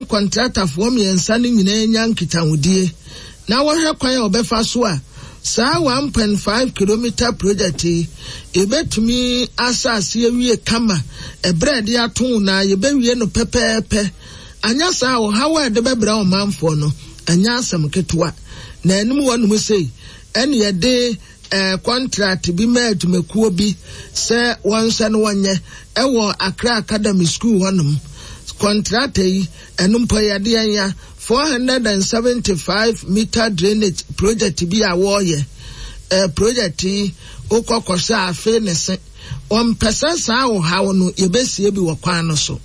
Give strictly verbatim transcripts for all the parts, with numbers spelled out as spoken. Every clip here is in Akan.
Kɔntratafoɔ mmiɛnsa no nyinaa nya nkitahodie na wɔhwɛ kwan a wɔbɛfa so a saa one point five kilometre project yi yɛbɛtumi ahyɛ ase awie kama ɛberɛ a yɛde ato na yɛbɛwie no pɛpɛɛpɛ. Anyɛ saa a, ɔhaw a ɛde bɛbrɛ ɔmanfoɔ no ɛnyɛ asɛm ketewa. Na anim hɔnom sei ɛne yɛde eh, kɔntrat bi ma adwumakuo bi sɛ wɔnhwɛ no wɔnyɛ ɛwɔ Accra Academy School hɔnom. Kɔntrata yi, ɛno mpo yɛde yɛn ya four hundred and seventy five meter drainage project bi a wɔreyɛ. Eh, project yi wokɔ kɔhwɛ afe ne se wɔmpɛ sɛ saa ɔhaw no yɛbɛsie bi wɔ kwan no so.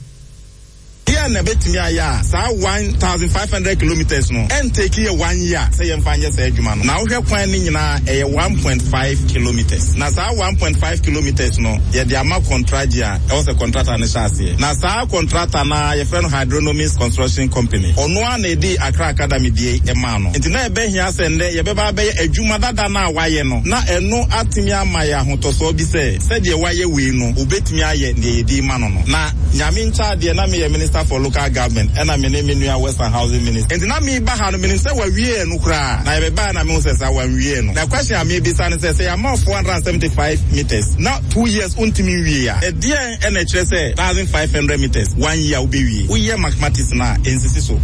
Deɛ na ɛbɛtumi ayɛ a saa one thousand five hundred kilometres no ɛntake yɛ one year sɛ yɛmfa nyɛ saa adwuma no. Na wohwɛ kwan no nyinaa, ɛyɛ one point five kilometres. Na saa one point five kilometres no, yɛde ama kɔntragye a ɛwɔ sɛ contractor no hyɛ aseɛ. Na saa contractor no a yɛfrɛ no Hydronomics Construction Company, ɔno ara na ɛdi Accra Academy deɛ ɛmaa no. Nti na ɛbɛhia sɛ nnɛ yɛbɛba abɛyɛ adwuma dada no a wayɛ no, na ɛno atumi ama yɛ ahotɔsoɔ bi sɛ sɛdeɛ wayɛ wei no, obɛtumi ayɛ deɛ yɛde ma no no. Na Nyame nkyɛ adeɛ, na meyɛ Minister for Local Government, ɛna me ne me nua Works and Housing Minister. Nti na meba ha no, menim sɛ wawie no koraa. Na yɛbɛbaa na mehu sɛ saa wanwie no. Na question a mebisa no sɛ, sɛ yɛama four hundred and seventy five meters na two years wontumi nwie a, ɛdeɛn ɛna ɛkyerɛ sɛ thousand five hundred meters one year wobɛwie? Woyɛ mathematics no a, ɛnsisi so.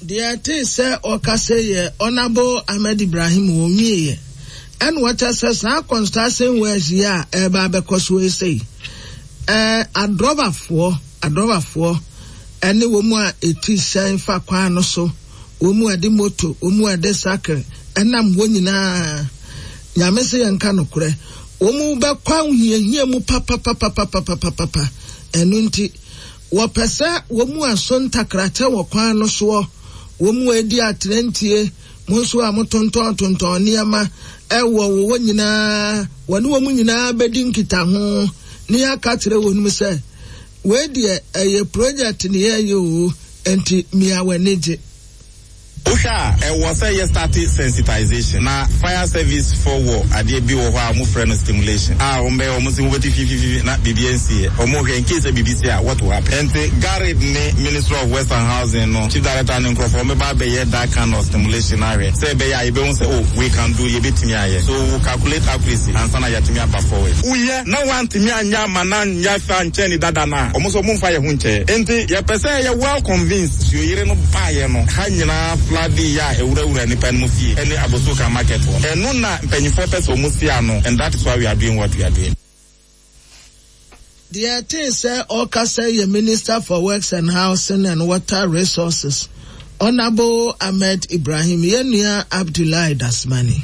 Deɛ ɛtee sɛ ɔkasa yɛ Honorable Ahmed Ibrahim wɔ nwieɛ. Ɛna wɔkyɛ sɛ saa construction works yi a ɛreba abɛkɔ so yi sei, ɛɛ adrɔbafoɔ adrɔbafoɔ ɛne wɔn mu a ɛti hyɛn fa kwan no so, wɔn mu a ɛde moto, wɔn mu a ɛde sakre ɛnam hɔ nyinaa, Nyame sɛ yɛnka nokorɛ, wɔn mu bɛkɔ ahohiahia mu papapapapapapapa. Ɛno nti wɔpɛ sɛ wɔn mu aso ntakrakyɛ wɔ kwan no soɔ, wɔn mu a ɛdi aterantie, mo nso a motontɔn tontɔn nneɛma ɛwɔ wɔ nyinaa, wɔne wɔn nyinaa bɛdi nkitaho ne yɛaka kyerɛ wɔn mu sɛ wei deɛ ɛyɛ project ne yɛyɛ o, nti mmea w'ani gye. Wohwɛ a, ɛwɔ sɛ yɛ start sensitization. Na fire service fo wɔ adeɛ bi wɔ hɔ a wɔfrɛ no stimulation a wɔn bɛyɛ wɔn si wɔbɛti fifififi na biribi nsi yɛ wɔn hwɛ in case sɛ biribi si a, what will happen. Nti GARID ne Ministry of Works and Housing no chief director ne nkurɔfoɔ wɔn bɛba abɛyɛ that kind of stimulation ahwɛ sɛ ɛbɛyɛ a yɛbɛhu sɛ, oh, we can do, yɛbɛtumi ayɛ. So we will calculate accuracy ansa na yɛatumi aba forward. Woyɛ na wantumi anyɛ ama na nyɛ fa nkyɛn ni dada no a, wɔn nso wɔn mfa yɛ ho nkyɛn. Nti yɛpɛ sɛ yɛ well convinced. Suoyere no baayɛ no ha nyinaa flood yɛ a ɛwurawura nipa no mu fie ɛne Abosoka market hɔ. Ɛno na mpanyinfoɔ pɛ sɛ wɔn si ano, and that is why we are doing what we are doing. Deɛ ɛtee sɛ ɔkasa yɛ Minister for Works and Housing and Water Resources, Honorable Ahmed Ibrahim, yɛn nua Abdullahi Dasmani.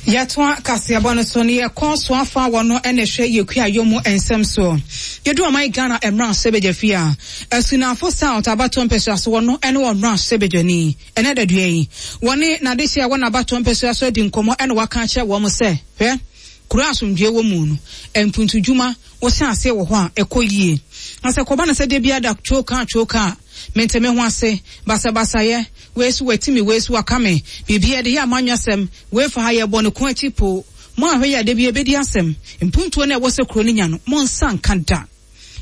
Yɛtoa kaseɛbɔ no so no, yɛkɔ so afa wɔ no ɛna ɛhwɛ yɛkua mu nsɛm soɔ. Yɛdu ɔman Ghana mmarahyɛ badwa fie a Asunafo South abatoɔ mpɛsua so wɔ no ɛne wɔ mmarahyɛ badwani ɛnɛ dadua yi wɔne n'adehyɛ a ɛwɔ n'abatoɔ mpɛsua so adi nkɔmmɔ, ɛna waka akyerɛ wɔn sɛ, hwɛ, kuro asomdwoe wɔ mu no, mpuntudwuma wɔhyɛ aseɛ wɔ hɔ a ɛkɔ yie, na sɛ kɔba no sɛ de bi ada twoka twoka a mente me ho ase basabasayɛ wei so watimi, wei so waka me biribi yɛde yɛ amanyɔsɛm, wei fa ha yɛbɔ ne ko akyi po mo ahwɛ yɛ ade bi ebedi asɛm, mpuntuo no a ɛwɔ sɛ kuro no nya no, mo nsa nka da.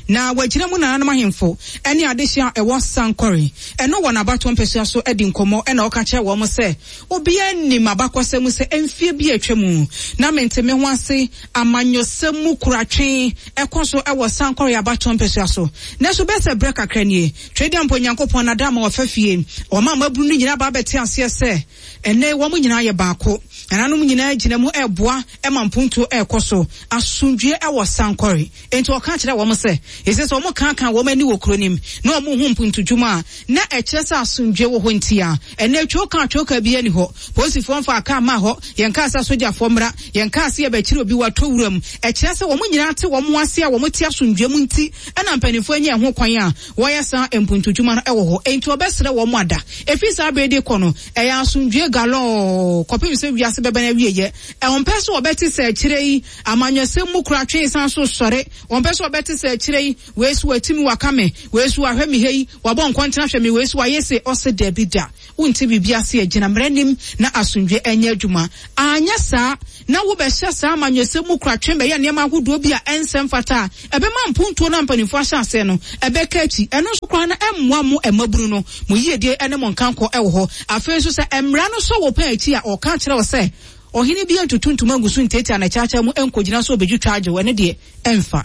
Na wagyina mu nananom ahemfo ne adehyɛ a ɛwɔ Sankɔre ɛno wɔ n'abatoɔ mpɛsua so adi nkɔmmɔ, ɛna ɔka kyerɛ wɔn sɛ obiara nim abakɔsɛm sɛ mfie bi atwa mu na mente me ho ase amanyɔsɛm mu kuratwe ɛkɔ so ɛwɔ Sankɔre abatoɔ mpɛsua so. Nanso bɛsɛ berɛ kakra nie, Twɛdi ampo Nyankopɔn nada ama wɔfa fie wɔn a mabunu no nyinaa ba abɛte aseɛ sɛ ɛnɛ wɔn nyinaa yɛ baako, nananom nyinaa gyina mu ɛɛboa ɛma mpuntuo ɛɛkɔ so, asomdwie ɛwɔ Sankɔre. Enti ɔka kyerɛ wɔn sɛ ɛsɛ sɛ wɔn kankan wɔn ani wɔ kuro nim na wɔn hu mpuntudwuma a na ɛkyerɛ sɛ asomdwie wɔ hɔ. Nti a ɛnɛ twoka twoka bi ani hɔ, polisifoɔ mfa aka ama hɔ, yɛn kaa sɛ asogyafoɔ mmra, yɛn kaa sɛ yɛbɛkyerɛ obi watɔ wuram, ɛkyerɛ sɛ wɔn nyinaa te wɔn ase a wɔn te asomdwie mu. Nti ɛna mpanimfoɔ anya ɛho kwan a wɔyɛ saa mpuntudwuma no ɛwɔ hɔ. Enti ɔbɛsrɛ wɔn ada efi saa abere de kɔ no, ɛyɛ asomdwie galɔɔ kɔpem sɛ wiase bɛbɛn awieyɛ. Ɛwɔmpɛ sɛ wɔbɛte sɛ akyire yi amanyɔsɛm mu kora twe san so sɔre, wɔmpɛ sɛ wɔbɛte sɛ akyire yi, wei so watimi waka me, wei so wahwɛ me hei, wabɔ nkɔntena hwɛ me, wei so wayɛ se ɔse dabi da. Wonte biribi ase a, gyina mmara nim na asomdwe ɛnyɛ adwuma. Anyɛ saa na wobɛhyɛ saa amanyɔsɛm mu kora twɛn bɛyɛ nneɛma ahodoɔ bi a ɛnsɛ mfata a ɛbɛma mpuntuo no mpanimfoɔ ahyɛ aseɛ no ɛbɛka akyi. Ɛno nso koraa no ɛmmoa mo mmabunu no mo yiedie ɛne mo nkankɔ ɛwɔ hɔ. Afei nso sɛ mmara no so wɔ pɛn akyi a, ɔka kyerɛ wo sɛ ɔhene bi ntutu ntoma ngu so ntiatia na kyaakyaa mu nkɔgyina so obɛdwitwa agye wo, ɛno deɛ ɛmfa.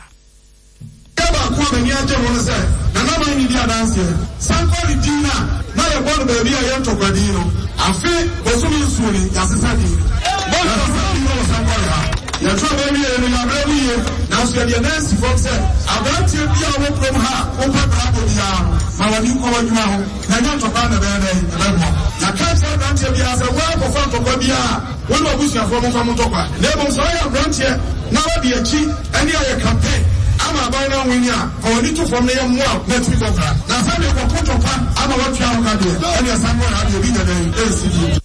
Baako a m'ani agye ho no sɛ nanaman ne di adanseɛ sankɔre din a na yɛbɔ no baabi a yɛ ntɔkwa din no, afe bosome nsuo ni yɛasesa din no, yɛasesa din no wɔ sankɔre ha. Yɛtɔ baabi yɛ no yɛabrɛ mu yie, nanso yɛde yɛn nan si fam sɛ aberanteɛ bi a wɔ kurom ha a wopɛ brabɔ biara no, ma w'ani nkɔ w'adwuma ho na ɛnyɛ ntɔkwa na ɛbɛyɛ dɛn ɛbɛboa. Yɛaka kyerɛ aberanteɛ biara sɛ woakɔfa ntɔkwa biara wo ne w'abusuafoɔ momfa mo ntɔkwa, na mmom sɛ woyɛ aberanteɛ na wode akyi ɛne ayɛ campaign ama aban no anwini a, fa w'ani to fam na yɛmmoa wo na atumi kɔkora. Na sɛ deɛ kɔko ntɔkwa ama woatua ho ka deɛ, ɛne ɛsan kɔ ha deɛ bi nyɛ dɛn ɛnsi bio.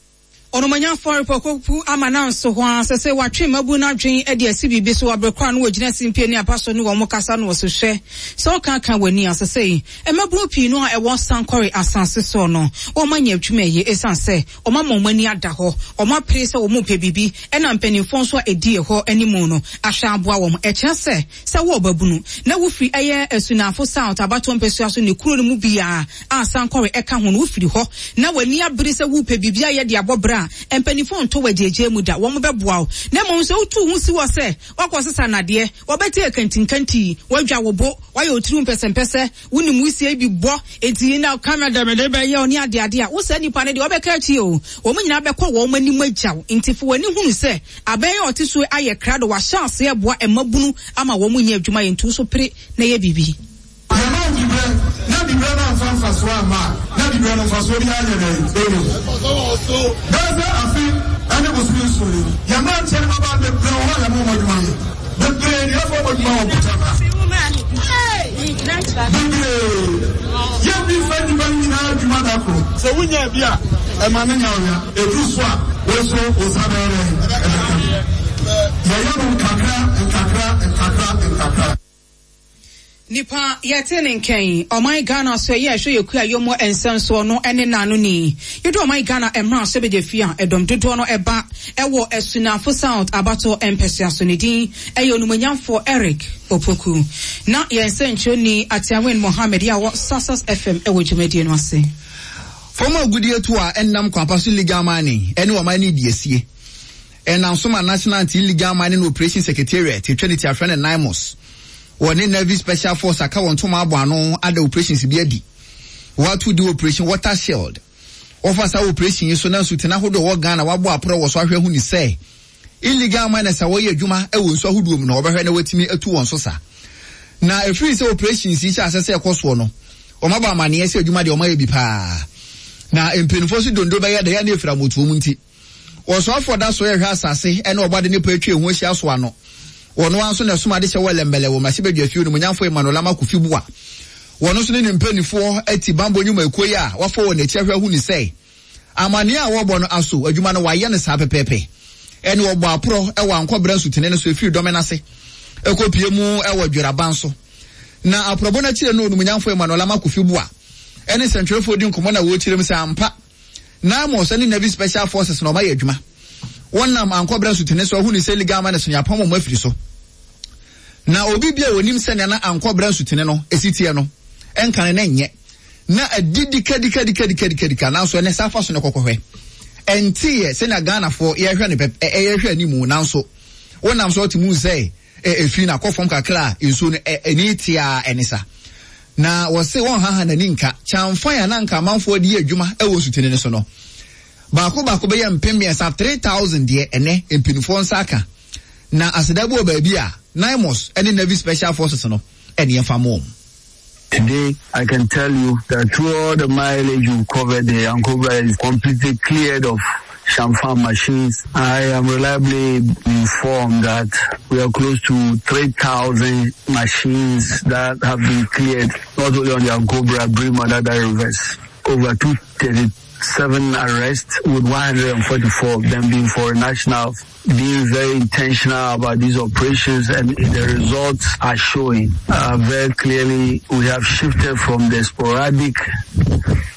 Ɔnomanyafo repɔkopu ama nanso ho a sɛ sɛ watwe mmabu no adwen de asi biribi so wɔ kora no wɔgyina simpie ne apa so ne wɔn kasa no wɔ so hwɛ sɛ ɔka ka w'ani a sɛ sɛ mmabunu pii no a ɛwɔ sankɔre asase soɔ no wɔn anya adwuma yie ɛsiane sɛ wɔn ama wɔn ani ada hɔ, wɔn apere sɛ wɔn pɛ biribi, ɛna mpanimfoɔ nso a ɛdi ɛhɔ anim no ahwɛ aboa wɔn. Ɛkyerɛ sɛ sɛ wɔ ɔbabunu na wofiri ɛyɛ Asunafo South abatoɔ mpɛsua so ne kuro no mu biara a sankɔre ɛka ho no wofiri hɔ na w'ani abere sɛ wopɛ biribi ayɛ de abɔ bra a, mpanimfoɔ ntɔ wɔ agyegye mu da, wɔn bɛboa wo. Na mmom sɛ wotu ho si wɔ sɛ wakɔ sesa nadeɛ, wɔbɛte akantinkanti, wɔadwa wo bo, wɔayɛ otiri mpɛsɛmpɛsɛ, wonim wusie bi bɔ, enti na kamera dɛmɛdɛ bɛyɛ wo ne adeade a, wo saa nipa no deɛ wɔbɛka akyi o, wɔn nyinaa bɛkɔ wɔn anim agya wo. Nti fo w'ani hunu sɛ abɛn a ɔte so ayɛ krado, wahyɛ aseɛ boa mmabunu ama wɔn nyɛ adwuma yɛ, nti wo so pere na yɛ biribi. Yɛma wo dibrɛ na dibrɛ no amfa mfasoɔ amma a, na dibrɛ no mfasoɔ bi anyɛ dɛn ɛni hɔ. Bɛyɛ sɛ afe ɛne bosome nsuo ni, yɛn mmeranteɛ no mmabaa bebree wɔ hɔ a yɛma wɔn adwuma yɛ. Bebree ne yɛfa wɔn adwuma wɔ mpɔtam ha. Bebree. Yɛnni mfa nnipa no nyinaa adwuma da koro. Sɛ wonya bi a, ɛma no nya wo ya. Ɛduru so a, wo nso wo nsa bɛyɛ dɛn ɛbɛka bi. Yɛyɛ no nkakra nkakra nkakra nkakra. Nipa yɛte ne nkɛn ɔman Ghana so ɛyɛ ɛhwɛ yɛ kua yɔmɔ nsɛnsoɔ no ɛne naano ni yɛdu ɔman Ghana mmra so bɛgye fie a ɛdɔm dodoɔ no ɛba ɛwɔ Asunafo South abatoɔ mpɛsua so. Ne din ɛyɛ onumonyamfoɔ Eric Opoku na yɛn nsɛnkyerɛni Atiawen Mohammed yɛ a wɔ Success F M ɛwɔ dwumadie no ase. Fɔm agudie to a ɛnam kwampa so legal mining ɛne ɔman ne di asie ɛnam so ma National Anti-Illegal Mining Operation Secretariat etwa ne ti afrɛ no NAIMOS wɔne Navy Special Force aka wɔn ntoma abɔ ano ada operations bi adi. Wɔato di Operation Water Shield. Wɔfa saa operation yi so na nsutene ahodoɔ wɔ Ghana wabɔ aporɔ wɔ so ahwɛ hu ne sɛ illegal miners a wɔyɛ adwuma wɔ nsu ahodoɔ mu no wɔbɛhwɛ na wɔatumi atu wɔn so sa. Na ɛfiri sɛ operations yi hyɛ asɛ sɛ ɛkɔ soɔ no, wɔn abɔ amanneɛ sɛ adwuma deɛ wɔn ayɛ bi paa. Na mpanimfoɔ so dondo bɛyɛ deɛ ne efira motuo mu nti wɔsɔfoɔ da so yɛhwɛ asase ɛne ɔbɔde ne pa atwa ehu ahyia so ano. Wɔn nso na ɛsom ade hyɛ wɔ lɛmbɛlɛ wɔ mmarahyɛbadwa fie no mu nyamfo Emmanuel Ama Kofi Bua. Wɔn nso ne ne mpanimfoɔ ati bambɔ nnwumakuo yi a wafa wɔn akyi ahwɛ ahu ne sɛ amanneɛ a wɔrebɔ no aso adwuma no wayɛ no saa pɛpɛɛpɛ. Ɛne wɔbɔ aporɔ ɛwɔ ankɔbrɛ nsutene no so efiri dɔmɛ n'ase ɛkɔpie mu ɛwɔ dweraban so. Na aporɔbɔ no akyire no onumunyamfo Emmanuel Ama Kofi Bua ɛne nsɛntwerɛfoɔ di nkɔmmɔ na wɔrekyerɛ mu sɛ ampa NAIMOS ɛne Navy Special Forces na ɔmayɛ adwuma. Wɔnam ankɔbrɛ nsutene so ahu ne sɛ illegal miners no yɛapam wɔn afiri so. Na obi bi a onim sɛnea na ankɔbrɛ nsutene no esi teɛ no ɛnka ne na nyɛ na adidi kadikadikadikadikadika, nanso ɛnɛ saa fa so ne kɔkɔhwɛ ɛnteɛ sɛnea Ghanafoɔ yɛhwɛ ne pɛ ɛyɛhwɛ anim, nanso wɔnam so ɔte mu sɛ efi na akɔ fam kakra a nsuo no ɛni tia ɛne sa. Na wɔse wɔn haha n'ani nka kyɛnfan a na nka amanfoɔ de yɛ adwuma ɛwɔ nsutene no so no baako baako bɛyɛ mpem mmiɛnsa three thousand deɛ ɛnɛ mpanimfoɔ nsa aka. Na aseda bi wɔ baabi a NAIMOS ɛne Navy Special Forces no ɛne yɛn fa mɔ. Today, I can tell you that through all the mileage you've covered, the Ankobra is completely cleared of Changfan machines. I am reliably informed that we are close to three thousand machines that have been cleared, not only on the Ankobra, Brim, and other rivers. Over two thirty seven arrests, with one hundred forty-four of them being foreign nationals. Being very intentional about these operations, and the results are showing. Uh, very clearly, we have shifted from the sporadic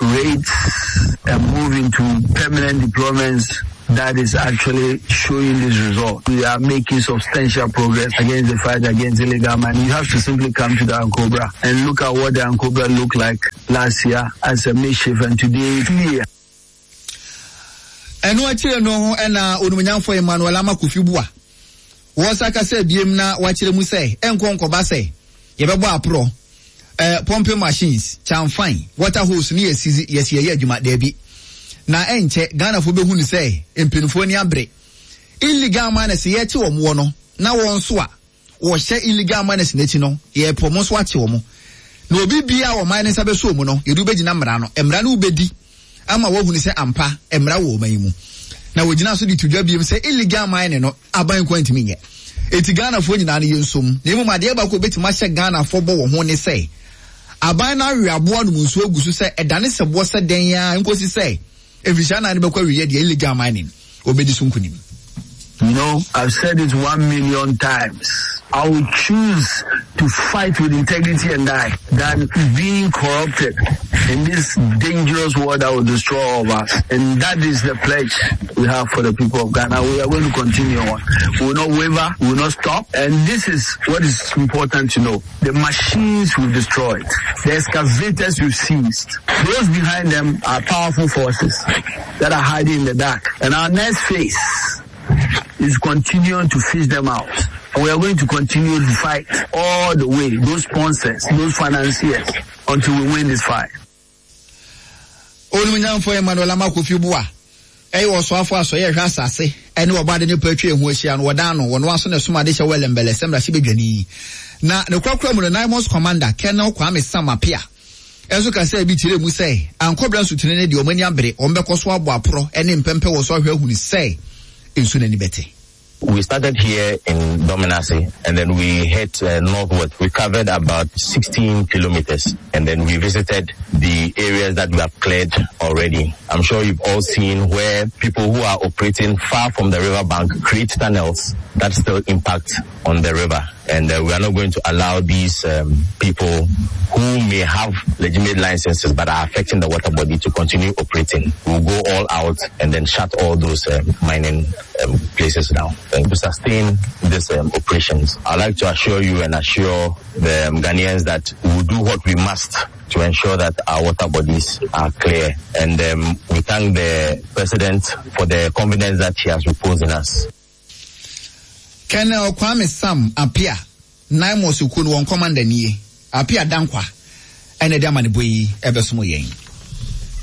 rates and moving to permanent deployments that is actually showing this result. We are making substantial progress against the fight against illegal mining. You have to simply come to the Ankobra and look at what the Ankobra looked like last year as a makeshift, and today it's clear. Ɛno akyire no ho ɛna onumnyamfo Emmanuel Ama Kofi Bua wɔsa kasa biem na wakyerɛ mu sɛ ɛnkɔ nkɔba sɛ yɛbɛbɔ aporɔ eh, pumping machines, chamfan, water hose ne yɛsi yɛsi yɛyɛ adwuma daabi. Na ɛnkyɛ Ghanafo bɛhu ne sɛ mpanimfoɔ ni abere illegal miners yɛkye wɔn wɔ no na wɔn nso a wɔhyɛ illegal miners n'akyi no yɛpɔ wɔn nso akye wɔn na obi bia wɔ man ne nsa bɛso mu no yɛde wobɛgyina mmara no mmara no wobɛdi ama wɔhunu sɛ ampa mmara wɔ ɔman yi mu. Na wɔgyina so de to dwa biem sɛ illegal mining no aban kwan ntumi nyɛ. Eti Ghanafoɔ nyinaa no yɛnsom na mmom adeɛ baako obɛtumi ahyɛ Ghanafoɔ bɔ wɔn ho ne sɛ aban no awe aboa nom nsuo agu so sɛ ɛdane sɛ boɔ sɛ dɛn a nkosi sɛ efisɛ anan no bɛkɔ awie deɛ illegal mining obɛdi so nkonim. You know, I've said it one million times. I will choose to fight with integrity and die than being corrupted in this dangerous world that will destroy all of us. And that is the pledge we have for the people of Ghana. We are going to continue on. We will not waver. We will not stop. And this is what is important to know. The machines we've destroyed, the excavators we've seized, those behind them are powerful forces that are hiding in the dark. And our next phase is continuing to fish them out. And we are going to continue to fight all the way, those sponsors, those financiers, until we win this fight. Onumunyamfo Emmanuel Ama Kofi Bua ɛyɛ wɔsoafo asɔyɛ hwɛ asase ɛne wɔbade ne patwa ehu ahyia no wɔdan no wɔno aso ne soma de hyɛ wɛlɛmbɛlɛ sɛ mmarahyɛ badwani na ne korakora mu no Naimos Commander Colonel Kwame Sam Appiah ɛnso kasa bi kyerɛ mu sɛ ankɔbra nsutene ne deɛ ɔmo ani abere ɔmo bɛkɔ so abɔ aporɔ ɛne mpɛmpɛ wɔ so ahwɛ ahunu sɛ nsu n'ani bɛte. We started here in Dominase and then we head uh, northward. We covered about sixteen kilometers and then we visited the areas that we have cleared already. I'm sure you've all seen where people who are operating far from the riverbank create tunnels that still impact on the river. And uh, we are not going to allow these um, people who may have legitimate licenses but are affecting the water body to continue operating. We'll go all out and then shut all those um, mining um, places down and to sustain these um, operations. I'd like to assure you and assure the um, Ghanaians that we'll do what we must to ensure that our water bodies are clear. And um, we thank the president for the confidence that he has reposed in us. Colonel Kwame Sam Appiah, Naimos Ukun won commander nie. Appiah Dankwa ene de amane boyi ebesomo yen.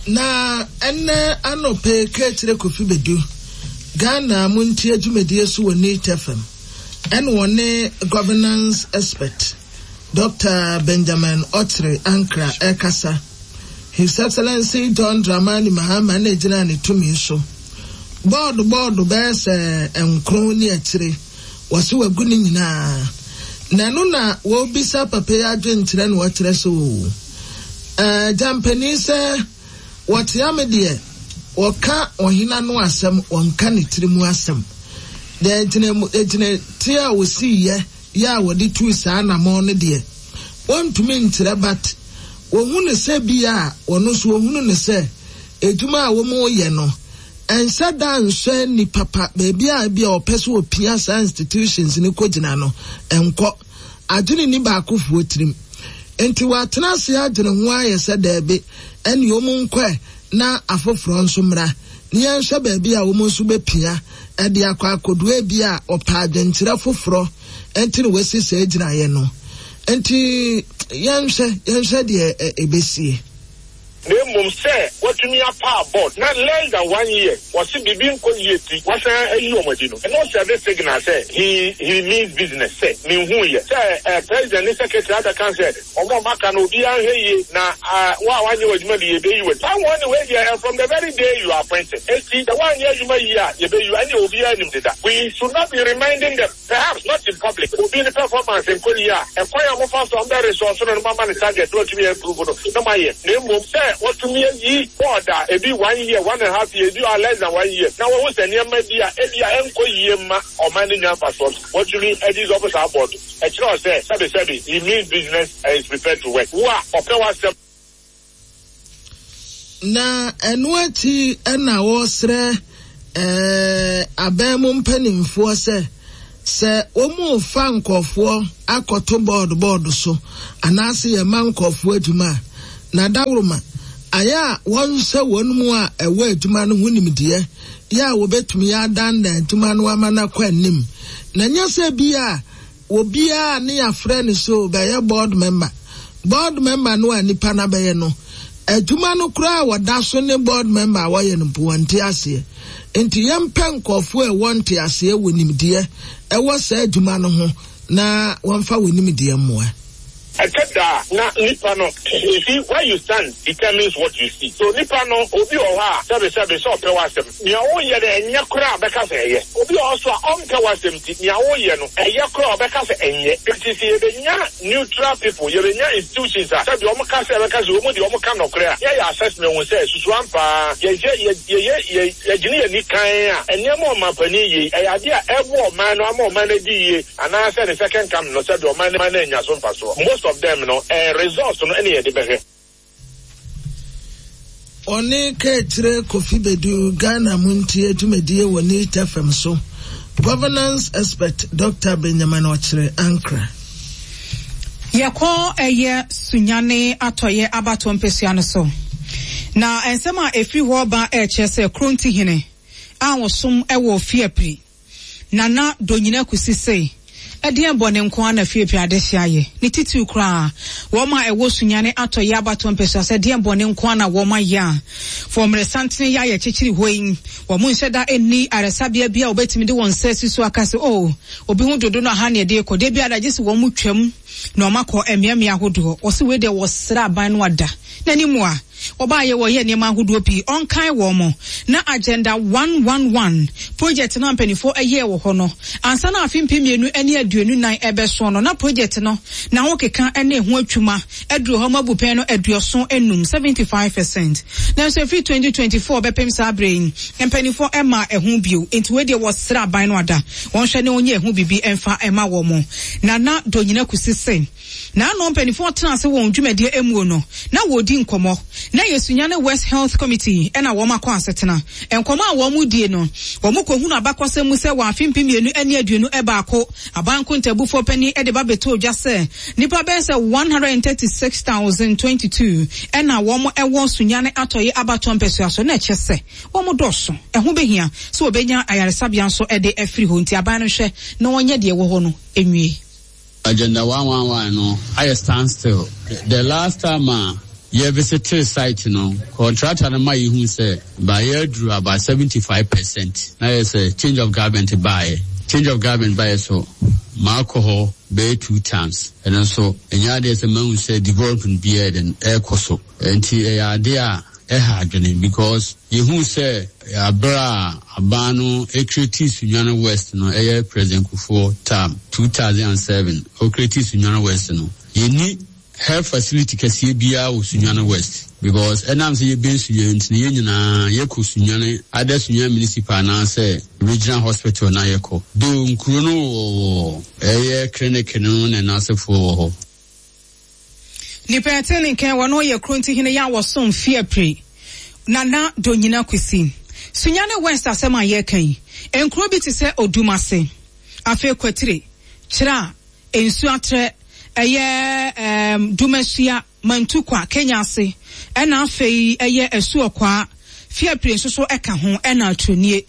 Na ene anope kechire Kofi Bedu Ghana muntie dwumadie so wɔ Neat F M. Ene wone governance expert Doctor Benjamin Otre Ankra Ekasa. His Excellency John Dramani Mahama na gina ne tumi so. Board board be se enkron ni akire. Wasi wagu ni nyinaa. Na no na wobisa papa ya adwenkyerɛ na wɔkyerɛ so. Eh jampani sɛ wɔte ame deɛ wɔka ɔhena no asɛm wɔnka ne tiri mu asɛm. De gyina gyina tie a wosi yɛ ya wɔde tu saa na mo no deɛ wɔntumi nkyerɛ but wɔhu ne sɛ bi a wɔno so wɔhunu ne sɛ edwuma a wɔn yɛ no ensa da nso ni papa baabi a bi a ɔpɛ so opia saa institutions ni kɔgyina no enkɔ adwene ni baako fuo tirim enti watena ase adwene ho ayɛ sɛ daabi ɛne ɔmo nkɔ na afoforo nso mmra ne yɛnhwɛ baabi a wɔn nso bɛpia ɛde akɔ akɔdua bi a ɔpɛ adwenkyerɛ foforɔ enti ne wɔasi sɛ gyinaeɛ no enti yɛnhwɛ yɛnhwɛ deɛ ɛbɛsie. Nemum say what to me a power board not less than one year was it be ti was a you and no service signal say he he means business say me who ye say uh, president and secretary other can say omo maka no obi anhwe ye na wa wa nye adwuma bi ye be you that one way there from the very day you are appointed eti the one year you year ye be you any obi anim deda. We should not be reminding them, perhaps not in public, obi the performance in Korea e kwa mo fa so am resource no mama ni target no to be improve no no ma ye nemum say what Watumi ayi board a ebi one year, one and a half year, ebi or less than one year. Na wɔn sɛ nneɛma bi a ebi a ɛnkɔ yie ma ɔman ne nya mfasoɔ. Watumi ɛdissolve saa board. Ɛkyerɛ sɛ sɛbi sɛbi he means business and is prepared to work. Wo a ɔpɛ w'asɛm. Na ɛno akyi ɛna wɔsrɛ ɛɛ abɛn mu mpanimfoɔ sɛ sɛ wɔn fa nkɔfoɔ akɔto board board so anaasɛ yɛma nkɔfoɔ adwuma a na dawuroma ayɛ a wɔnhyɛ wɔn mu a ɛwɔ adwuma no ho nimdeɛ yɛ a wɔbɛtumi adandan adwuma no ama no akɔ anim na nyɛ sɛ bi a obiara ne yɛafrɛ no so bɛyɛ board member board member no a nipa no abɛyɛ no adwuma no koraa wɔda so ne board member a wɔyɛ no mpo wɔnte aseɛ nti yɛmpɛ nkɔfoɔ a ɛwɔ nte aseɛ wɔ nimdeɛ ɛwɔ saa adwuma no ho na wɔmfa wɔ nimdeɛ mmoa. Ɛtɛ da na nipa no, you see, where you stand determines what you see. So nipa no obi wɔ hɔ a sɛbi sɛbi sɛ ɔpɛ w'asɛm nea woyɛ no ɛnyɛ koraa bɛka sɛ ɛyɛ. Obi wɔ hɔ so a ɔmpɛ w'asɛm ti nea woyɛ no ɛyɛ koraa ɔbɛka sɛ ɛnyɛ. Nti sɛ yɛbɛnya neutral people, yɛbɛnya institutions a sɛbi ɔmo ka sɛ ɛbɛka sɛ ɔmo deɛ ɔmo ka nɔkorɛ a yɛyɛ assessment hu sɛ susu ampa yɛyɛ yɛyɛ yɛgyene yɛn ni kan a nneɛma ɔmampanin yie ɛyɛ adeɛ a ɛboa ɔman no ama ɔman no adi yie anaasɛ ne second come no sɛbi ɔman no anya so mfasoɔ. Most of them no eh, results no ɛne yɛde bɛhwɛ. Ɔne kɛkyerɛ Kofi Bedu Ghana mu ntie dwumadie wɔ Neat F M so. Governance expert Doctor Benjamin Okyere Ankra. Yɛkɔ ɛyɛ Sunyane atɔyɛ abato mpesua no so. Na nsɛm a efiri hɔ ba ɛkyerɛ sɛ Kronti hene a wɔsom ɛwɔ Fiapre. Nana Donyina Kusi se ɛdeɛn bɔ ne nko ana Fiapre adehye ayɛ. Ne titiriw koraa wɔn a ɛwɔ Sunyane atɔyɛ abato mpesua sɛ ɛdeɛn bɔ ne nko ana wɔn ayɛ a. Fɔmmerɛ santene yɛ ayɛ kyekyere hɔ yi. Wɔn nhyɛ da nni aresabea bi a wɔbɛtumi de wɔn nsa asi so aka sɛ oh obi ho dodo no aha ne ɛde kɔ. Da bi adagye sɛ wɔn mu twam na wɔn akɔ mmeammea ahodoɔ. Wɔsi wei deɛ wɔsra aban no ada. N'anim a wɔbaayɛ wɔyɛ nneɛma ahodoɔ pii ɔnkan wɔn mo na agenda one one one project no mpanimfoɔ ɛyɛ wɔ hɔ no ansa na afe mpem mmienu ne aduonu nan ɛbɛso no na project no na ho keka ne ho atwuma aduru hɔ mabu pɛn no aduɔson enum seventy five percent nanso efiri twenty twenty four bɛpem saa abere yi mpanimfoɔ ɛma ɛho bio nti wei deɛ wɔsra aban no ada wɔnhwɛ ne wɔnyɛ ɛho bibi ɛmfa ɛma wɔn mo na na Donyina Kusi se na ano mpanimfoɔ tena ase wɔn dwumadie emu no na wɔdi nkɔmɔ na yɛ Sunyane West Health Committee ɛna wɔn akɔ asetena nkɔmɔ a wɔn die no wɔn kɔhunu abakɔsɛm mu sɛ wɔn afe mpem mmienu ne aduonu ɛbaako abanko ntabufoɔ panyin ɛde ba bɛtɔ dwa sɛ nipa bɛyɛ sɛ one hundred thirty six thousand twenty two ɛna wɔn ɛwɔ Sunyane atɔyɛ abatɔ mpɛsua so na ɛkyɛ sɛ wɔn dɔɔso ɛho behia sɛ wɔbɛnya ayaresabea nso ɛde afiri hɔ nti aban no hwɛ na wɔnyɛ deɛ ɛwɔ hɔ no enwie. Agenda one one one no, I stand still. The last time uh, you visited site no, contractor no ma you say by year drew about seventy-five percent. Now it's a change of government buy. Change of government buy so alcohol bay two times. And also and ya there's a man who said development beer than air coso. And ti a idea because you who say abra abano ekreti Sunyani West no eh President Kufuor term two thousand seven okreti Sunyani West no you need health facility kɛseɛ biara wɔ Sunyani West because ɛnam sɛ yɛbɛn Sunyani nti yɛn nyinaa yɛkɔ Sunyani ada Sunyani municipal anaasɛ regional hospital na yɛkɔ do nkuro no wɔ ɛyɛ clinic no ne n'asefoɔ wɔ hɔ. Nipa ɛte ne nkan wɔn yɛ Kronti hene yɛ awɔsom Fiapre Nana Donyina Kusi Sunyani West asɛm a yɛka yi nkuro bi te sɛ Odumase afei Kwatire Kyerɛ nsu atrɛ ɛyɛ ɛɛm Dumasua Mantukwa Kenya ase ɛna afei ɛyɛ Asuokwa Fiapre nso so ɛka ho ɛna Atronie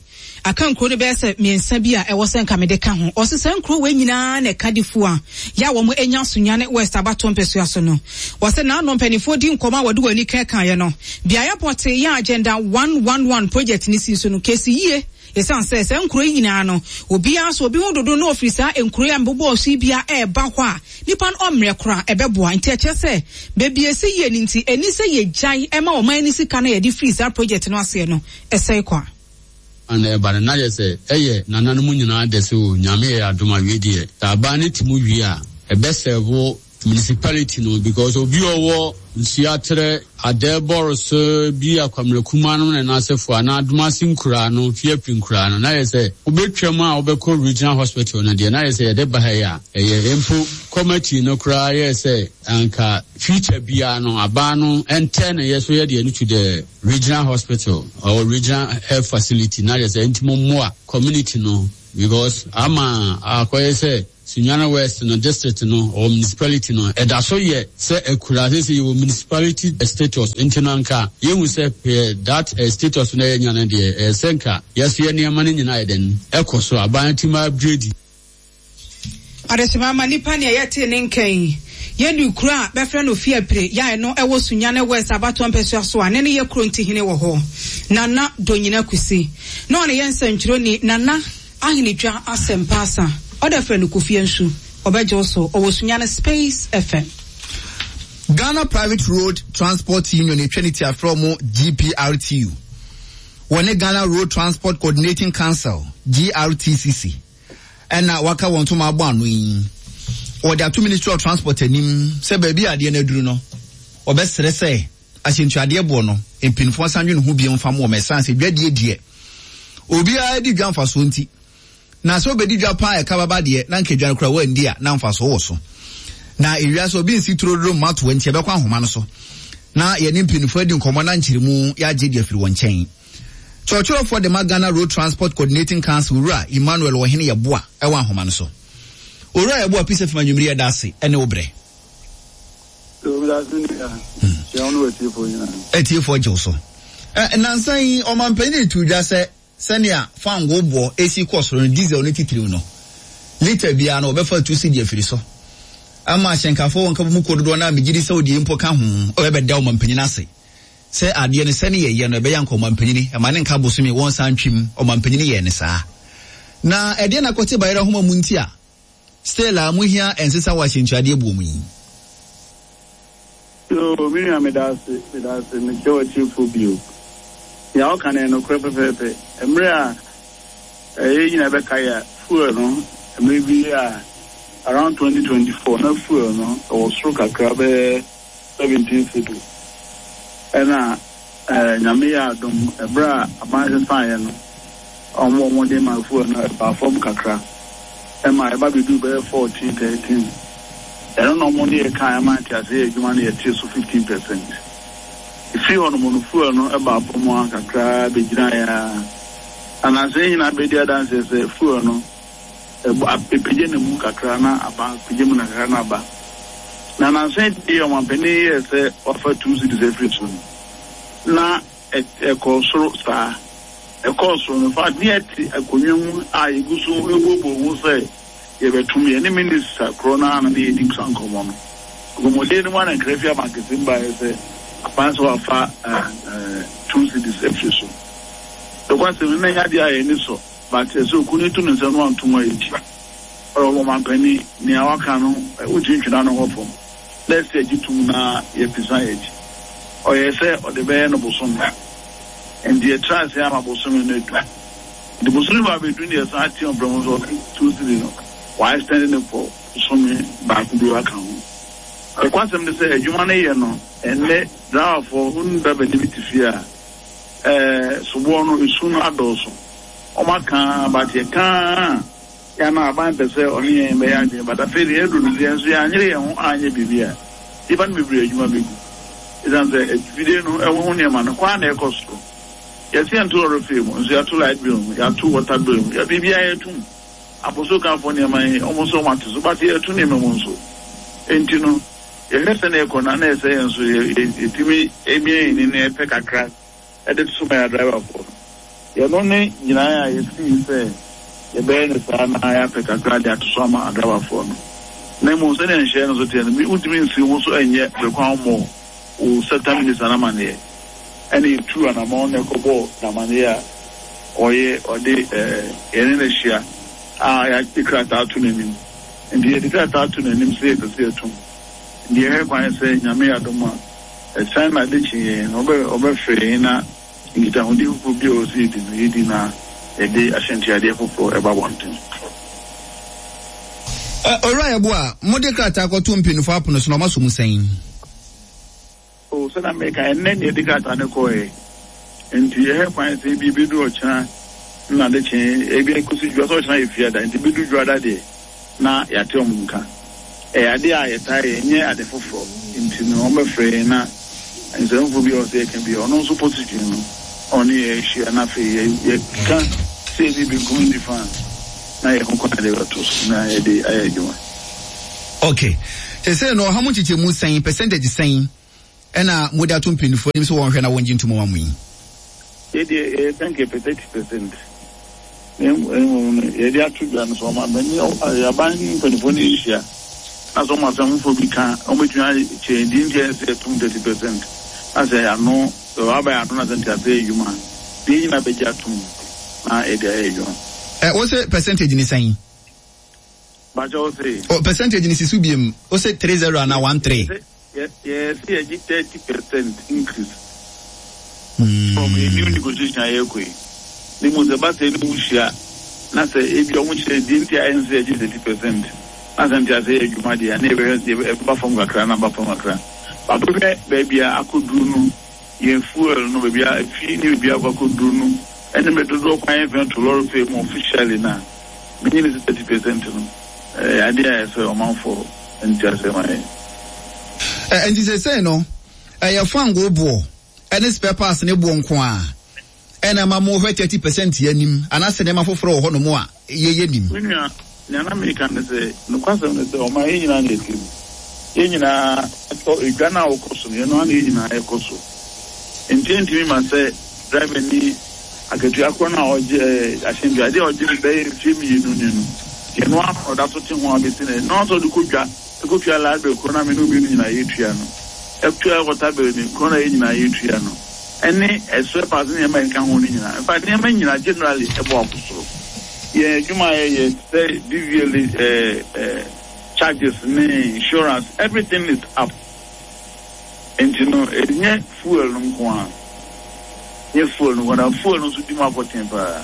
aka nkuro no bɛyɛ sɛ mmiɛnsa bi a ɛwɔ sɛ nka mede ka ho ɔse sɛ nkuro wei nyinaa na ɛka difoɔ a yɛ a wɔn anya Sunyani West abato mpɛsua so no wɔsɛ n'ano mpanimfoɔ di nkɔmɔ a wɔde wɔn ani kɛkaeɛ no beaeɛ pɔte yɛ agenda one one one project ne si so no kɛsi yie yɛsan sɛ sɛ nkuro yi nyinaa no obiara so obi ho dodo na ofiri saa nkuro yi a mbobɔ so bia ɛɛba hɔ a nipa no ɔmmerɛ koraa ɛbɛboa nti ɛkyerɛ sɛ beebi esi yie ne nti ɛni sɛ yɛgyae ɛma ɔman ne sika no yɛde firi saa project no aseɛ no ɛsɛe kwa. And but na yɛ ɛyɛ nananom nyinaa de so nyame yɛ adom awie deɛ sɛ aban ne ti mu wie a ɛbɛsɛvo municipality no because obi ɔwɔ nsuatrɛ adɛbɔrɔ bi akwamrekuma no ne n'asefo ana adomase nkura no fiapri nkura no na yɛ sɛ wobɛtwam a wobɛkɔ regional hospital no deɛ na yɛ sɛ yɛde ba ha yi a ɛyɛ mpo committee no koraa yɛ sɛ anka future biara no abaa no ɛntɛ ne yɛ so yɛ deɛ no to the regional hospital or regional health facility na yɛ sɛ ntimo mmoa community no because ama akɔyɛ sɛ Sunyani West no district no or municipality no ɛda so yɛ sɛ akura sɛ yɛwɔ municipality status nti no anka yɛhu sɛ pɛ that status no yɛnya no deɛ ɛyɛ sɛ nka yɛso yɛ nneɛma no nyinaa yɛ dɛn ɛkɔ so aban tim upgrade. Adesima ma nipa ne yɛte ne nkɛn yɛnu kura bɛfrɛ no fiapre ya no ɛwɔ Sunyani West abato mpɛsua so a ne ne yɛ kuro ntihene wɔ hɔ Nana Donyina Kusi na ɔne yɛ nsɛntwerɛni Nana Ahenedwa asɛmpa ɔda frɛ no Kofi Nsu ɔbɛgye so ɔwɔ Sunyani Space F M. Ghana Private Road Transport Union etwa afrɛ mo G P R T U wɔne Ghana Road Transport Coordinating Council G R T C C ɛna waka wɔn to ma abɔ ano yi wɔde ato Ministry of Transport anim sɛ baabi adeɛ no aduru no ɔbɛsrɛ sɛ ahyɛntuadeɛ boɔ no mpanyinfoɔ nsa nwe ne ho bio mfa mo wɔ mɛsan sɛ dwadie deɛ obiara di dwa mfasoɔ nti na sɛ obedi dwa paa ɛka baba deɛ na nka dwa no kora wandi a na mfasoɔ wɔ so na ewia sɛ obi nsi turoduro mmato nti ɛbɛkɔ ahoma no so na yɛne mpanyinfoɔ adi nkɔmmɔ na nkyerɛmu yɛagye deɛ afiri wɔn nkyɛn. Kyerɛkyerɛfoɔ de ma Ghana Road Transport Coordinating Council Owura Emmanuel Ɔhene Yɛboa ɛwɔ ahoma no so. Owura Yɛboa Peace F M anwummere yɛda ase ɛne wo brɛ. Atiefoɔ gye wo so. Nnansa yi ɔmanpanyin tu dwa sɛ sɛnea fango boɔ esi kɔ soro no diesel ne titiriw no lita biara no wɔbɛfa tu si deɛ afiri so ama ahyɛnkafoɔ wɔn nka mu kɔ dodoɔ no a megye di sɛ wode mpo ka ho ɔbɛbɛda ɔmanpanyin ase sɛ adeɛ no sɛne yɛyɛ no ɛbɛyɛ anka ɔmanpanyin ɛma ne nka bosome wɔn nsa ntwim ɔmanpanyin yɛ ne saa na ɛdeɛ na kɔte bayerɛ homa mu nti a still a muhia ɛnsesa wɔ ahyɛntuadeɛ buo mu yi. Yo, me nua medase medase mekyɛ w'akyirefo bio nea ɔka no no korɛ pɛpɛɛpɛ mmerɛ a ɛyɛ nyina bɛka yɛ fuel no mmerɛ bi a around twenty twenty-four na fuel no ɛwɔ soro kakra bɛyɛ seventeen cedis ɛna nyame yɛ adom ɛberɛ a aban sesaeɛ no ɔmo ɔmo de ma fuel no ɛbaa fam kakra ɛma ɛba bɛduru bɛyɛ fourteen thirteen ɛno na ɔmo ne yɛ kan ɛma nte ase yɛ adwuma no yɛte so fifteen percent ɛfiri hɔ nom no fuel no ɛbaa fam a kakra bɛgyina yɛ a anaasɛ nyinaa bɛdi adanseɛ sɛ fuel no ɛpagya ne mu kakra na aba pagya mu na kakra na aba na nansa deɛ ɔmampanin yɛ sɛ wafa two cedis afiri so no na ɛkɔɔ soro saa ɛkɔɔ soro no fa ne yɛte akonnwa mu a yɛgu so ɛbobo ho sɛ yɛbɛtum yɛ ne minista korɔ no ana ne yɛdi sa nkɔmmɔ no nkɔmmɔden no mu ana nkra fi abankɛse mu baeɛ sɛ aban sɛ wafa two cedis afiri so nokwasɛm no na ɛnyɛ adeɛ a yɛni sɔ but ɛsɛ okunu to ne nsa no antom a yɛkyi ɔwɔ ɔmampanin nea waka no wotumi ntwena no hɔ fam na ɛsɛ agye tum na yɛpisa yɛkyi ɔyɛ sɛ ɔde bɛyɛ no bosome nti yɛtra ase ama bosome no adu nti bosome ba bɛdu ne yɛsan ate ɔbrɛ mu sɛ ɔse two cedis no wɔaextend ne for bosome baako bi waka ho ɛkwasɛm ne sɛ adwuma no yɛ no ɛnnɛ driverfoɔ wonu driver bi te fie a ɛɛ soboɔ no esu no adɔɔso ɔmo aka but yɛka ya na aban pɛ sɛ ɔne yɛn bɛyɛ adwene but afei deɛ yɛduru no yɛn nso yɛanyere yɛn ho anyɛ biribi a nnipa no bebree adwuma bɛgu ɛsiane sɛ afidie no ɛho ho nneɛma no kwan na ɛkɔ soro yɛsi yɛnto lɔre fee mu nso yɛato light bill mu yɛato water bill mu yɛ biribiara yɛto mu abosokafoɔ nneɛma yi ɔmo nso ɔmo ate so but yɛto nneɛma mu nso nti no yɛhwɛ sɛ na ɛkɔ na na ɛsɛ yɛn nso yɛtumi emia yɛn ni na yɛpɛ kakra ɛde to ma yɛ driverfoɔ no yɛno ne nyinaa a yɛsii sɛ yɛbɛyɛ ne saa na yɛapɛ kakra de ato so ama adrabafoɔ no na mmom sɛdeɛ nhyɛ no so teɛ no wontumi nsi ho so ɛnyɛ bere mmɔ wo sector minister no amanneɛ ɛne yɛtu anammɔn na ɛkɔbɔɔ n'amanneɛ a ɔyɛ ɔde yɛne no ahyia a yɛde krataa to n'anim nti yɛde krataa to n'anim sɛ yɛpɛ sɛ yɛtom nti yɛhwɛ kwan sɛ Nyame yɛ adom a ɛsan na ade kye yɛn no ɔbɛfrɛ yɛn na nkitahodi foforɔ bi a ɔwɔ sɛ yɛdi no yɛdi na yɛde ahyɛntuadeɛ foforɔ ɛba abɔnten. Owura Yeboah, mode krataa kɔto mpanyinfoɔ apono so na ɔma so mu sɛn? O sɛ na meka ɛnnɛ ne yɛde krataa no kɔɛ, nti yɛhɛ kwan sɛ ebi ebedu ɔkyena na de kye ebi ekosi dwa sɛ ɔkyena yɛ fiada, nti ebedu dwada deɛ na yɛate ɔmo nka. Ɛyɛ ade a yɛtaa yɛ, nyɛ ade foforɔ, nti no ɔmo bɛfrɛ yɛn na nsɛmfo bi a ɔsɛ yɛka bi a ɔno nso position no ɔne yɛ ahyia, na afei yɛ yɛka sɛ ebi benkum nifa na yɛ ho kwan de bɛto so na yɛde ayɛ adwuma. Okay, sɛ no ɔha mu nkyekyɛmu sɛn, percentage sɛn ɛna mode ato mpanyinfoɔ anim sɛ wɔnhwɛ na wɔngye ntom ma mo yi? Yɛdeɛ yɛyɛ sɛ nka yɛpɛ thirty percent, na mmom no yɛde ato dwa no so ɔma bɛne aban mpanimfoɔ no yɛhyia na sɛ ɔmo asɛm foforɔ bi ka, ɔmɛtumi akyerɛ deɛ nti a ɛsɛ yɛtom thirty percent, na sɛ ano sɛ aba yɛ ano na sɛ nti asɛ yɛ adwuma a deɛ nyinaa bɛgye atom na yɛde ayɛ adwuma. Ɛ wo sɛ percentage ni sɛn? Bakyɛ, wo se? O percentage ni si so biem, wo sɛ three zero ana one three? Yɛ yɛ sɛ yɛgye thirty percent increase from a new negotiation a yɛrekɔ yi ne mu. Sɛ ba sɛ ɛne mu hyia na sɛ ebi ɔmo kyerɛ deɛ nti a ɛnsɛ yɛgye thirty percent na sɛ nti asɛ yɛ adwuma deɛ a na yɛbɛhwɛ sɛ ɛbɛba fam kakra na aba fam kakra. Babɛhwɛ baabi a akɔduru no, yɛn fuel no, baabi a efi ne baabi a akɔ akɔduru no, ɛne mɛ dodoɔ kwan yɛn fɛn to lɔre fɛ mu officially na menye ne sɛ thirty percent no ɛyɛ adeɛ a ɛsɛ ɔmanfoɔ nti asɛ ma yɛ. Ɛ nti sɛ sɛn no ɛyɛ fango boɔ ɛne spare parts ne boɔ nko a ɛna ma mo hwɛ thirty percent yɛ anim, anaasɛ nneɛma foforɔ wɔ hɔnom a yɛyɛ nim? Me nua, nea na meka ne sɛ nokwasɛm ne sɛ ɔma yɛn nyinaa na ɛte mu, yɛn nyinaa ɛtɔ edwa no a wɔkɔ so no, yɛn no ana yɛn nyinaa yɛkɔ so, nti ntumi ma sɛ driver ni akatua korɔ no a ɔgye ɛɛ ahyɛntua adeɛ a ɔgye no bɛyɛ mfie mmienu ni no, yɛn no ano ɔda so te ho abɛsi no ɛno nso ɔde kɔ dwa ɛkɔtua light bill korɔ no a me ne omienu nyinaa yɛtua no, ɛtua water bill ni korɔ no a yɛn nyinaa yɛtua no, ɛne ɛsɛ paase nneɛma a ɛka ho no nyinaa. In fact, nneɛma nyinaa generally ɛbɔ akɔ soro. Yɛn adwuma a yɛyɛ sɛ D V L A ɛɛ ɛɛ charges ne insurance, everything is up, nti no ɛnyɛ fuel no nko a, nyɛ fuel no nko a, na fuel no nso di mu akɔten paa,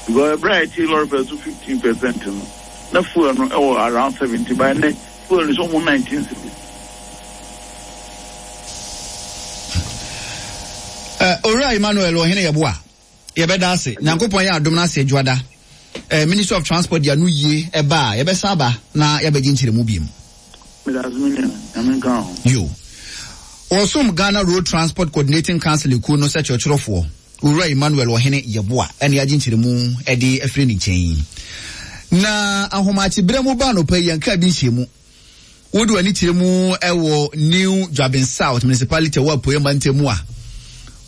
because ɛberɛ a yɛte lɔre fare so fifteen percent no, na fuel no ɛwɔ around seventy, by ne fuel no so ɔmo nineteen cedis. Ɛ Owura Emmanuel Ɔhene Yeboah, yɛbɛda ase. Nyankopɔn yɛ adom no ase adwuada ɛ Ministry of Transport de ano yie ɛba a, yɛbɛsan aba na yɛabɛgye nkyerɛmu biem. Meda ase, me nua. Nyame nka ho. Yo, wɔsom Ghana Road Transport Coordinating Council ekuo no sɛ kyerɛkyerɛfoɔ, Owura Emmanuel Ɔhene Yeboah, ɛne agye nkyerɛmu ɛde afiri ne nkyɛn. Na ahomakyeberɛ mu ba anɔpa yi, yɛnka bi nhyɛ mu. Wode w'ani kyerɛ mu ɛwɔ New Juaben South Municipality ɛwɔ Apueɛ mantam mu a,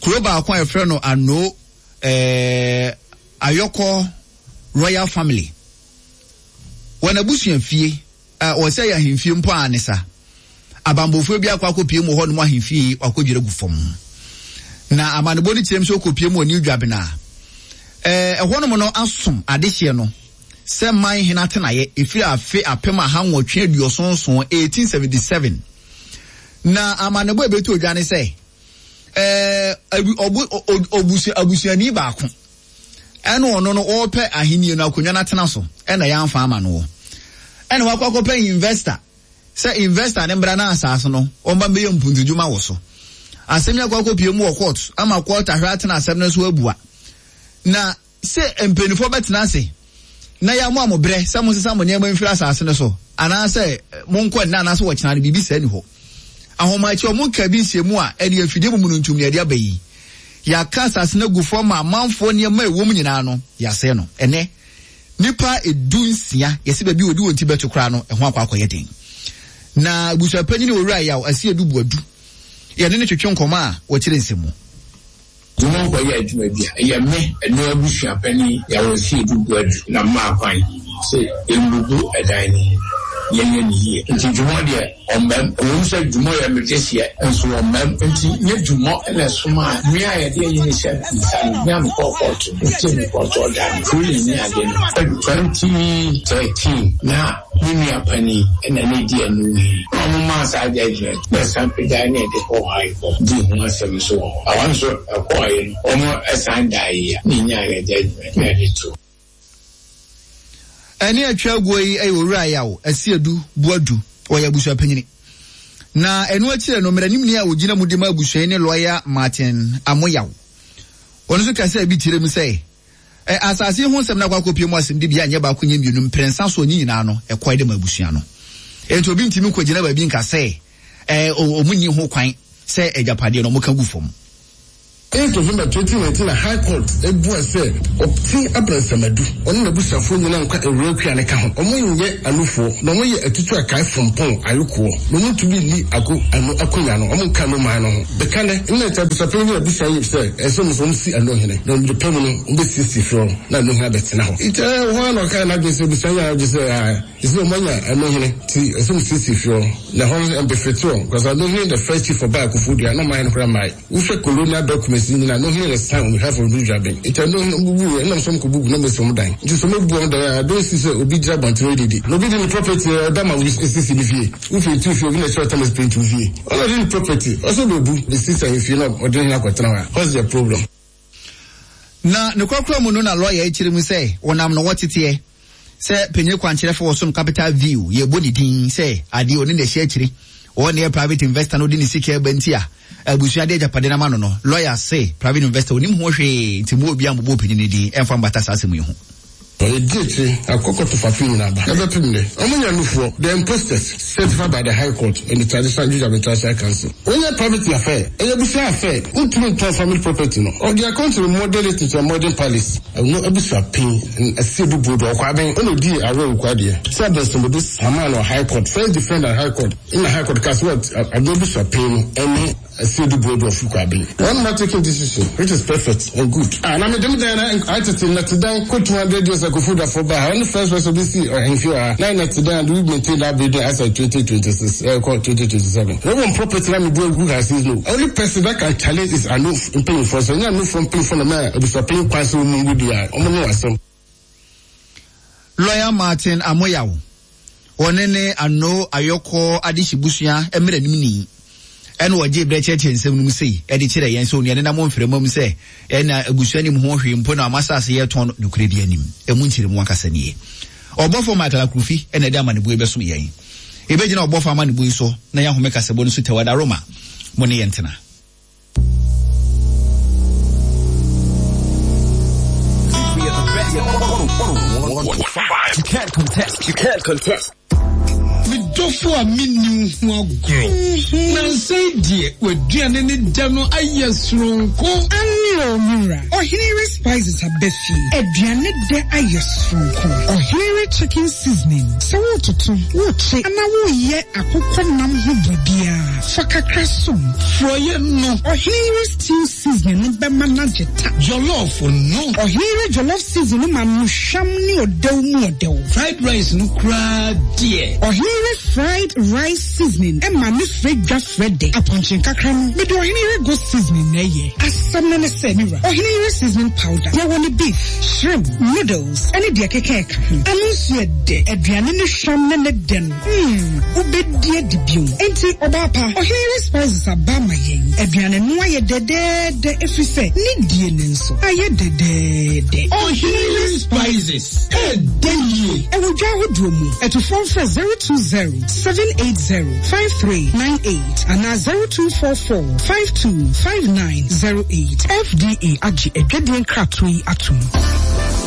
kuro baako a yɛfrɛ no ano ɛɛ Ayɔkɔ Royal Family, wɔn abusua fie a wɔsɛ yɛ ahemfie mpo a ne sa abanbɔfoɔ bi akɔ akɔpie mu wɔ hɔnom, ahemfie wakɔdwira gu fam. Na amanebɔ no kyerɛ mu sɛ ɔkɔpie mu wɔ New Juaben a ɛɛ ɛhɔnom no asom adehyeɛ no sɛ man hene atenaeɛ ɛfiri afe apem aha nwɔtwe aduɔson nson, eighteen seventy-seven. Na amanebɔ a ɛbɛtu odwa ne sɛ ɛɛ ɔbu ɔbusua abusuani baako ɛna ɔno no ɔrepɛ ahenni no akonnwa no atena so, ɛna yɛamfa ama no wɔ ɛna wakɔ akɔpɛ investor sɛ investor ne mbra na asase no ɔmba mbɛyɛ mpuntudwuma wɔ so. Asɛm yi akɔ akɔpie mu wɔ court ama court ahwɛ atena asɛm no so abua na sɛ mpanimfoɔ bɛtena ase na yɛ mo a mo brɛ sɛ mo sesa mo nneɛma mfiri asase no so anaasɛ monkɔ nna anaasɛ wɔkyena no, biribi saa ni hɔ. Ahomakye ɔmo nka bi nhyɛ mu a ɛne afidie mu no ntum ne ɛde aba yi, yɛaka asase no agu fam ma amanfoɔ nneɛma a ɛwɔ mu nyinaa no yɛasɛe no. Ɛnɛ nipa edu nsia yɛsi baabi odi wɔn ti bɛto koraa no ɛho akɔ akɔyɛ den. Na abusuapanyin Owura Yaw Asi Edu Buadu, yɛne ne twetwe nkɔmɔ a wɔkyerɛ nsɛm mu. Dwuma nkɔyɛ adwuma bi a ɛyɛ me ɛno abusua panin Yàwó Si Edu Buadu na mmaa kwan sɛ mbubu ɛdan no mu, yɛnyɛ ne yie. Nti dwuma deɛ ɔmmɛm, ɛwom sɛ dwuma yɛ mede seɛ nso ɔmmɛm, nti nyɛ dwuma ɛna ɛsoma a mmea a yɛde ayi ne hyɛ nsa no mmea mekɔɔ kɔɔto ntie me kɔɔto ɔda no ruling ne ade no twenty thirteen na me nua panin ɛna ne di anim yi na ɔmo maa saa judgement na ɛsan pagya ne ɛde kɔɔ High Court di ho asɛm nso wɔ hɔ. Ɛhɔ nso ɛkɔɔ yi no ɔmo ɛsan da yi a ne nyaa yɛ judgement na ɛde to. Ɛne atwa aguo yi ɛyɛ owura Yaw Asiedu Boadu ɔyɛ abusua panyini. Na ɛno akyire no mmaranimni a ogyina mu de ma abusua yi ne lawyer Martin Amoyaw. Ɔno nso kasa bi kyerɛ mu sɛ ɛ asase ho nsɛm na akɔ akɔpie mu asɛm de bi anyɛ baako nyɛ mmienu mprɛnsa so ne nyinaa no ɛkɔe de ma abusua no. Enti obi ntumi nkɔgyina baabi nka sɛ ɛ ɔmo nni ho kwan sɛ agyapadeɛ no ɔmo ka gu fam. eight November twenty nineteen na High Court ebua sɛ ɔte abrɛnsamadu ɔne n'abusuafoɔ nyinaa nkwa ewurakua ne ka ho ɔmo nyɛ anufoɔ na ɔmo yɛ atutu akae fompɔn ayokoɔ na ɔmo ntumi nni ako ano akonya no ɔmo nka no maa no ho bɛka nɛ nna nkyɛn abusuapɛn ne abusua yi sɛ ɛsɛ ɔmo sɛ ɔmo si ano hene na ɔmo de pɛm no ɔmo bɛsiesie fie hɔ na ano hene abɛtena hɔ nti ɛɛ hɔ ara na ɔka n'adwene sɛ abusua yi a ɔgye sɛ ɛɛ ɛsɛ ɔmo anya ano hene ti ɛsɛ ɔmo siesie fie hɔ na hɔ no ɛmbɛfɛti hɔ because ano hene the first chief ɔbaa Koforidua na ɔmo ayɛ no koraa maa wohwɛ colonial documents nyinaa no hene sign on behalf of the Dwaben nti ɛno bubu ɛnam sɛ ɔmo bubu na ɔmo si ɔmo dan nti sɛ ɔmo bu ɔmo dan a I don't see sɛ obi gyina abɔnten didi na obi di ne property ɔda ma esisi ne fie wofi tu fie obi na ɛkyerɛ ɔtɛm paint fie ɔno di ne property ɔsɛ ɔbɛbu esisi ahemfie na ɔde ne akɔtena hɔ a what's the problem? Na ne kɔkɔrɔ mu no na lawyer akyerɛ mu sɛ wɔnam no wɔteteɛ sɛ panyin kwankyerɛfo wɔ som Capital View yɛbɔ ne din sɛ adeɛ ɔne na ɛhyɛ akyire ɔne yɛ private investor no de ne sika ɛba nti a abusua de agyapade no ama no no lawyer se private investor onim ho hwee nti mu obi ambobɔ panyin ne din ɛmfa mbata saa asɛm yi ho. Ɔyɛ di akyire akɔkɔto fafi nyinaa ba ɛbɛpem dɛ ɔmo nya nufoɔ the imposters certified by the High Court and the Traditional Judicial Traditional Council. Wonyɛ private affair ɛyɛ abusua affair wontumi ntɔn family property no ɔde account no model it to a modern palace. Ɛno abusua pin Asiedu Boadu ɔkɔ abɛn ɔna odi awɛ okɔ adeɛ sɛ abɛnsɛmɔdo sama no High Court first defendant High Court ɛna High Court kasi what ado abusua pin no ɛne Asiedu Boadu of Kwaben. One man taking decision which is perfect and good. Ah, na me dem dan na atete na te dan ko two hundred years ago food for ba. Only first person be see or hemfi ah. Na na te dan do we maintain that building as at twenty twenty-six eh twenty twenty-seven. No one property na me do who has says no. Only person that can challenge is ano paying for so no from paying for na ma obi paying kwanso mu ngudi a. Omo no asem. Lawyer Martin Amoyaw one ne ano ayɔkɔ adehyebusua emere nimni. Ɛna wɔgye brɛ kyerɛkyerɛ nsɛm no mu sei ɛde kyerɛ yɛn sɛ onua ne nam mframa mu sɛ ɛna abusua nim ho hwee mpo na amasase yɛ tɔn nokorɛ bi anim ɛmu nkyerɛ mu ankasa nie. Ɔbɔfo Michael Akrufi ɛna ɛde amanebue bɛsom yɛn. Ebɛgyina ɔbɔfo amanebue so na yɛahome kasɛbɔ no so tɛwada Roma mo ne yɛn tena. You can't contest. You can't contest. Me dofo a minni ho agro. Na nsɛn deɛ waduane ne da no ayɛ soronko. Ani o mura. Ɔhenere spices abɛfi. Aduane dɛ ayɛ soronko. Ɔhenere chicken seasoning. Sɛ wototo, wokye, ana woyɛ akokɔ nam ho biribiara. Fa kakra som. Frɔyɛ no. Ɔhenere stew seasoning no bɛma no agye ta. Jollof no. Ɔhenere jollof seasoning no ma no hwam ne ɔdɛw mu ɔdɛw. Fried rice no koraa deɛ. Ɔhenere fried rice seasoning ɛma ne fre dwa frede. Apɔnkye nkakra no mede ɔhenere goat seasoning na ɛyɛ. Asɛm no ne sɛ mira. Ɔhenere seasoning powder. Yɛwɔ ne beef, shrimp, noodles ɛne deɛ keka ɛka ho. Ano nso yɛ dɛ. Aduane ne hwam ne ne dɛ no. Hmm, wobɛdi adi bio. Enti ɔbaa pa, ɔhenere spices aba ama yɛn. Aduane no ayɛ dɛdɛɛdɛ ɛfiri sɛ ne die ne nso ayɛ dɛdɛɛdɛ. Ɔhenere spices ɛdɛ yie. Ɛwɔ dwa ahodoɔ mu. Ɛtofoɔ mfrɛ zero two zero seven eight zero five three nine eight and zero two four four five two five nine zero eight. F D A agye adwadie nkratoɔ yi atom.